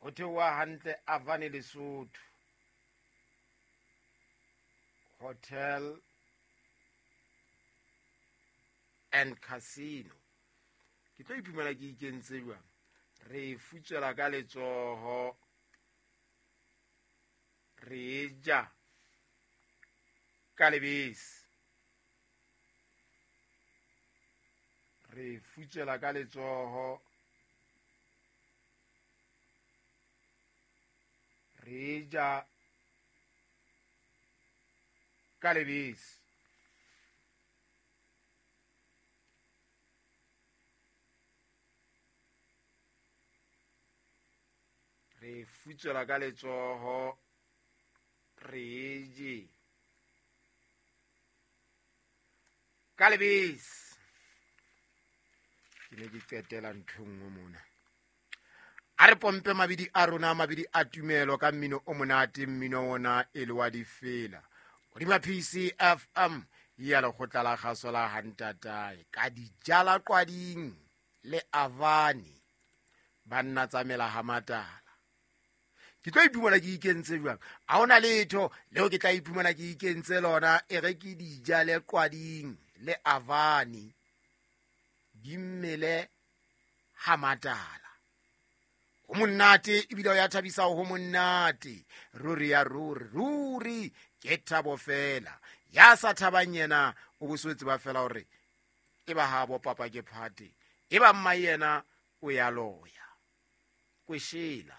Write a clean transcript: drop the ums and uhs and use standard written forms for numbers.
Ho theoha hantle Avane Lesotho Hotel and Casino. Ke tlo iphumana ke ikentse jwang? Re e futswela ka letsoho, re e ja ka lebese. Re e futswela ka letsoho, re e ja ka lebese. Re e futswela ka letsoho, re e je ka lebese. Ke ne ke qetela ntho e nngwe mona. A re pompe mabidi a rona, mabidi a tumelo ka mmino o monate, mmino ona e le wa difela. Hodima PCFM ya lekgotla la kgaso la Hantatae ka dijala qwading le Avani banna tsamela ha matala. Ke tlo iphumana ke ikentse jwang? Ha hona letho leo ke tla iphumana ke ikentse lona, e re ke dijale qwading le Avani di mmele ha matala. Ho monate ebile o ya thabisa ho monate. Ruri ya ruri, ruri ke thabo fela. Ya sa thabang yena o bo so tseba fela hore e ba habo papa ke phate, e ba mma yena o ya loya. Kweshela.